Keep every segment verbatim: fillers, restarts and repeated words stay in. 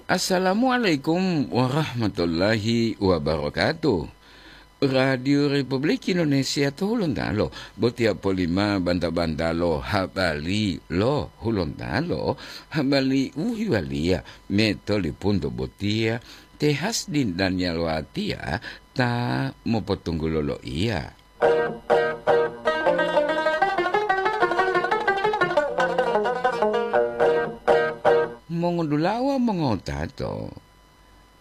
Assalamualaikum warahmatullahi wabarakatuh. Radio Republik Indonesia to Hulontalo, botiya polima banta-bantalo habari lo Hulontalo, habari u hiwaliya metolipunto botiya, te Hasdin Daniel Watia ta mopotunggulo loiya. Mongodulawa mongotato,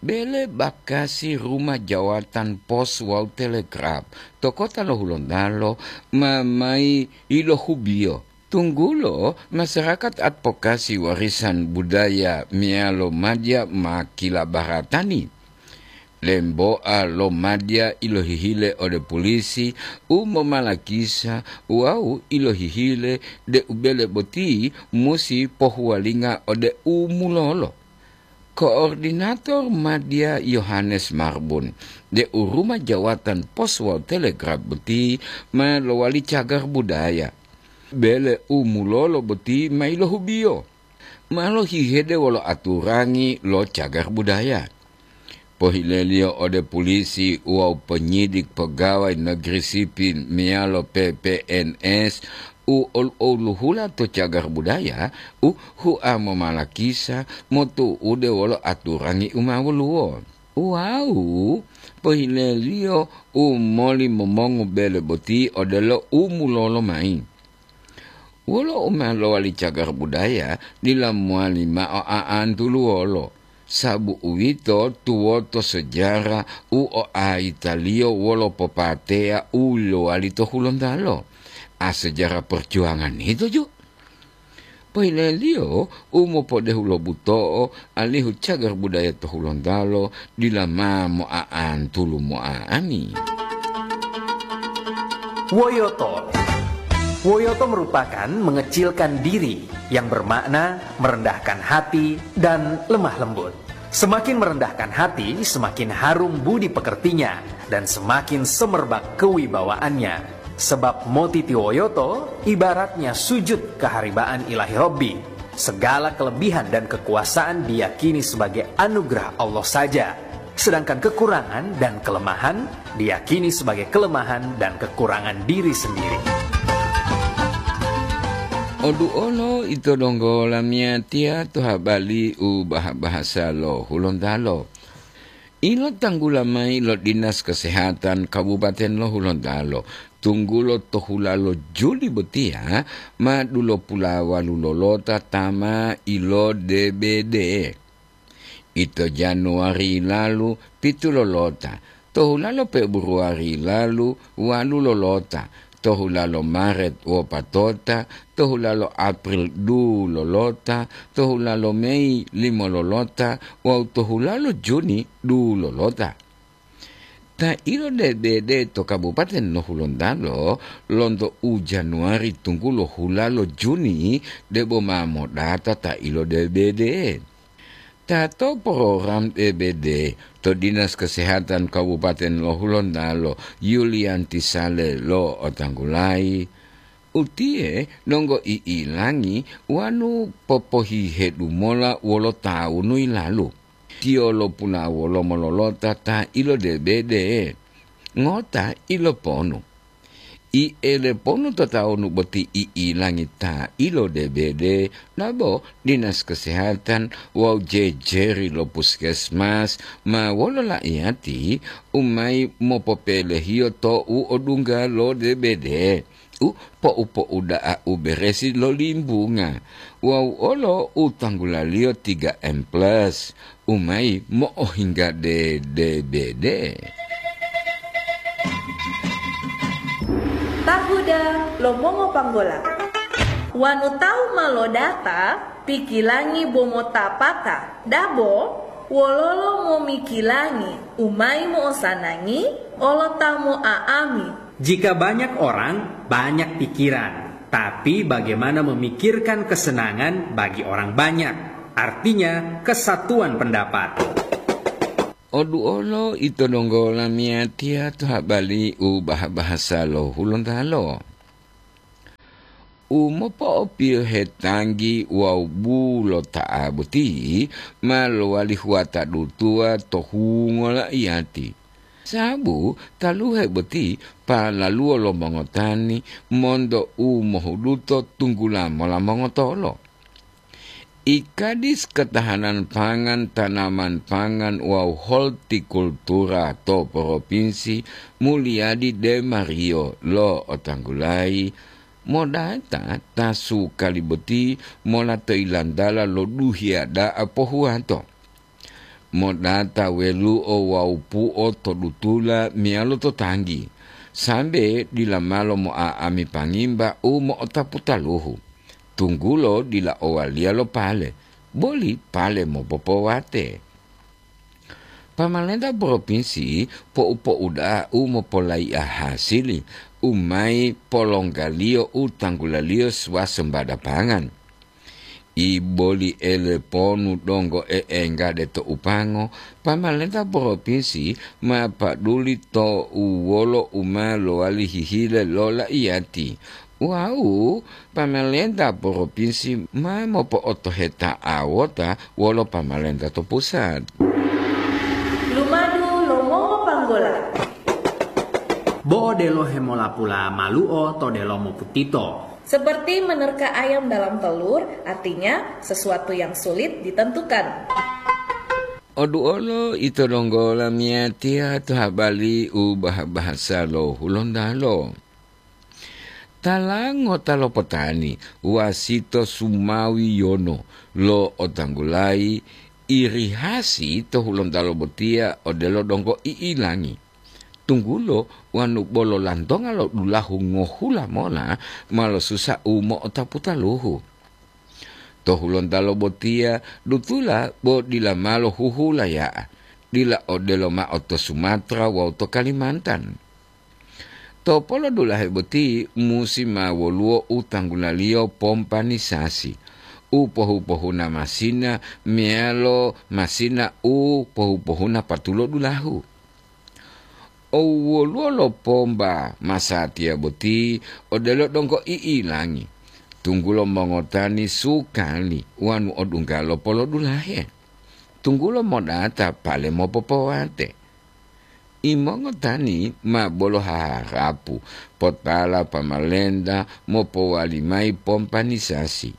bele bakasi Ruma Jawatan Pos wawu Telegraf to kota lo Hulontalo ma mayi ilohubiyo, tunggulo masarakat advokasi warisan budaya meyalo madya ma kilabaratani. Lemboa lo madya ilohihile ode pulisi u momalakisa wawu ilohihile deu bele boti musi pohuwalinga ode u mulolo. Koordinator madya Yohanes Marbun, deu Ruma Jawatan Pos wawu Telegraf boti ma lowali cagar budaya. Bele u mulolo boti ma ilohubiyo. Ma lohihede wolo aturangi lo cagar budaya. Pohileliyo ode pulisi wawu penyidik pegawai negeri sipil meyalo P P N S u ol-, oluhula to cagar budaya u hua momalakisa motu'ude wolo aturangi u ma woluwo. Wawu pohileliyo u moli momongu bele boti odelo u mulolo mayi. Wolo u ma lowali cagar budaya dila mowali mao a'antuluwolo, sabu uwito tuwoto sejarah u oaitaliyo wolo popateya u lowali to Hulontalo. A sejarah perjuangan ito ju. Pohileliyo u mopodehu lo buto'o alihu cagar budaya to Hulontalo dila ma moa'antulu mo'a'ani. Woyoto. Woyoto merupakan mengecilkan diri, yang bermakna merendahkan hati dan lemah lembut. Semakin merendahkan hati, semakin harum budi pekertinya, dan semakin semerbak kewibawaannya. Sebab motitiwoyoto ibaratnya sujud keharibaan Ilahi Robbi. Segala kelebihan dan kekuasaan diyakini sebagai anugerah Allah saja, sedangkan kekurangan dan kelemahan diyakini sebagai kelemahan dan kekurangan diri sendiri. Oduolo ito donggo lamiyatiya to habari u bah-bahasa lo Hulontalo. Ilotanggula mayi lo Dinas Kesehatan Kabupaten lo Hulontalo, tunggulo to hulalo Juli botiya ma dulopulawalu lolota ta ma ilo D B D. Ito Januari lalu, pitu lolota, to hulalo Februari lalu, walu lolota, to hulalo Maret wopatota, to hulalo April dulu lolota, to hulalo Mei limo lolota, wawu to hulalo Juni dulu lolota. Ta ilo D B D to Kabupaten lo Hulontalo lonto u Januari tunggulo hulalo Juni debo ma modata ta ilo D B D. Ta to program D B D to Dinas Kesehatan Kabupaten lo Hulontalo, Yulianti Sale lo otanggulayi, utiye donggo i'ilangi wanu popohihedu mola wolo tawunu yilalu. Tiyo lopulawolo mololota ta ilo D B D ngota iloponu. I eleponu to tawunu boti i'ilangi ta ilo D B D, labo Dinas Kesehatan wawu jejeri lo puskesmas ma wolo la'iyati u mayi mopopelehiyo to u odungga lo D B D, u po'u-po'u da'a u beresi lo limbunga, wawu olo u tanggulaliyo tiga M plus, u mayi mo'ohinggade D B D. Tahuda lo mongopanggola. Wanu tawu ma lodata, pikilangi bo motapata, dabo wololo momikilangi u mayi mo'osanangi olo ta mo'a'ami. Jika banyak orang, banyak pikiran. Tapi bagaimana memikirkan kesenangan bagi orang banyak? Artinya, kesatuan pendapat. Oduolo ito donggo lamiyatiya to habari u bah-bahasa lo Hulontalo. U mopo'opiyohe tanggi wawu bulota'a boti ma lowali huwata dutuwa to hungo la'iyati. Sababu taluhe boti palaluwo lo mongotani monto u mohuduto tunggula mola mongotolo. I Kadis Ketahanan Pangan, Tanaman Pangan wawu Hortikultura to Propinsi Mulyadi De Mario lo'otanggulayi, modata ta sukali boti mola to ilantala lo duhiya da'a pohuwato. Modata welu'o wawu pu'o to dutula meyalo to tanggi, sambe dila malo mo'a'ami pangimba u mo'otapu taluhu, tunggulo dila owaliya lo pale, boli pale mopopowate. Pamalenta propinsi po'u-po'uda'a u mopolaiya hasili u mayi polonggaliyo u tanggulaliyo swasembada pangan. I boli eleponu donggo e'enggade to upango, pamalenta propinsi ma paduli to u wolo u ma lowali hihile lo laiyati. Wawu pamalenta propinsi ma mopo'otoheta'awota wolo pamalenta to pusat. Lumadu lo mongopanggola. Bo odelo hemolapula malu'o to delomo putito. Seperti menerka ayam dalam telur, artinya sesuatu yang sulit ditentukan. Oduolo ito donggo lamiyatiya to habali u bah-bahasa lo Hulontalo. Tala ngota lo potani wasito sumawi yono lo otanggulayi irihasi to Hulontalo botiya odelo donggo i'ilangi. Tunggulo wanu bolo lantonga lo dulahu ngohula mola ma losusa u mo'otapu taluhu. To Hulontalo botiya dutula bo dila malo huhulaya'a, dila odelo mao to Sumatra wawu to Kalimantan. To polodulahe boti musi ma woluwo u tanggulaliyo pompanisasi, u pohu-pohuna masina meyalo masina u pohu-pohuna patulo dulahu. Owoluwo lo pomba masatiya boti odelo donggo i'ilangi, tunggulo mongotani sukali wanu odungga lo polodulahe, tunggulo modata pale mopopowate. Imongotani ma bolo haharapu potala pamalenta mopowali mayi pompanisasi,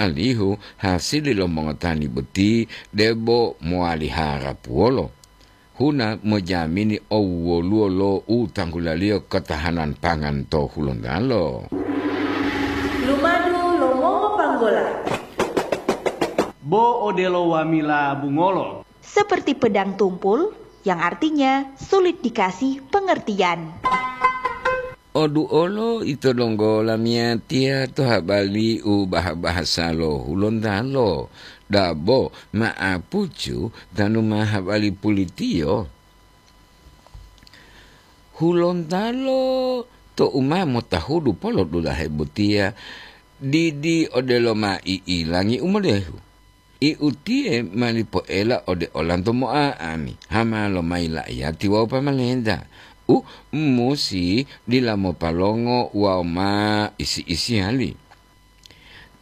alihu hasili lo mongotani boti debo mowali harapuwolo. Huna mojamini owoluwo lo u tanggulaliyo ketahanan pangan to Hulontalo. Lumadu lo mongopanggola. Bo odelo wamila bungolo. Seperti pedang tumpul, yang artinya sulit dikasih pengertian. Oduolo ito donggo lamiyatiya to habali u bah-bahasa lo Hulontalo, dabo ma'apucu tanu ma habali pulitiyo. Hulontalo to u ma motahudu polodulahe botiya, didi odelo ma i'ilangi u modehu. I utiye ma lipoela ode olanto mo'a'ami, hama lomayi la'iyati wawu pamalenta, u musi dila mopalongo wawu ma isi-isiyali.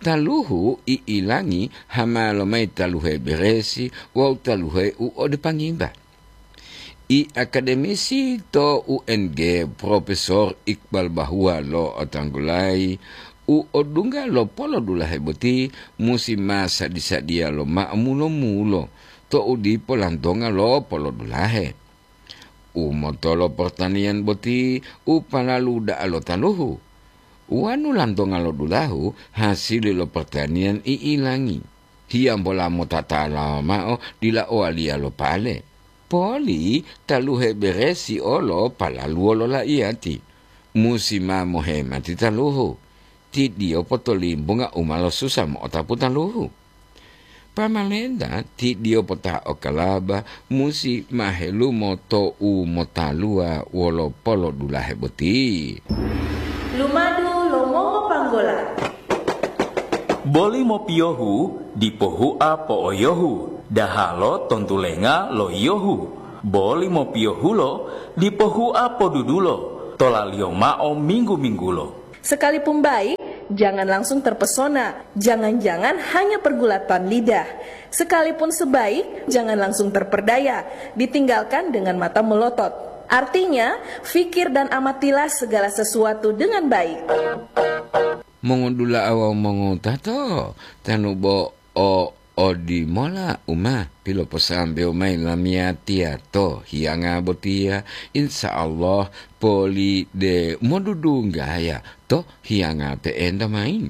Taluhu i'ilangi hama lomayi taluhe beresi wawu taluhe u ode pangimba. I akademisi to U N G, Profesor Iqbal Bahua lo'otanggulayi, u odungga lo polodulahe boti musi ma sadi-sadiya lomao mulo-mulo to'u dipo lantonga lo polodulahe. U motolo portaniyan boti u palalu da'a lo taluhu. Wanu lantonga lo dulahu hasili lo portaniyan i'ilangi. Hiyambola motatala mao dila owaliya lo pale. Poli taluhe beresi olo palaluwo lo laiyati. Musi ma mohemati taluhu. Tidiyo potolimbunga u ma losusa mo'otapu taluhu. Pamalenta tidiyo pota okalaba musi ma helumo to u motaluwa wolo polodulahe boti. Lumadu lo mongopanggola. Boli mopiyohu dipo hua po'oyohu, dahalo tontulenga lo yiyohu. Boli mopiyohulo dipo hua podudulo, tolaliyo mao minggu-minggulo. Sekalipun bayi, Jangan langsung terpesona, jangan-jangan hanya pergulatan lidah. Sekalipun sebaik, jangan langsung terperdaya, ditinggalkan dengan mata melotot. Artinya, fikir dan amatilah segala sesuatu dengan baik. Mongodula'a wawu mongowutato, tanu bo o odimola u ma piloposambewo mayi lamiyatiya to hiyanga botiya, insya Allah poli de modudunggaya to hiyanga pe'enta mayi.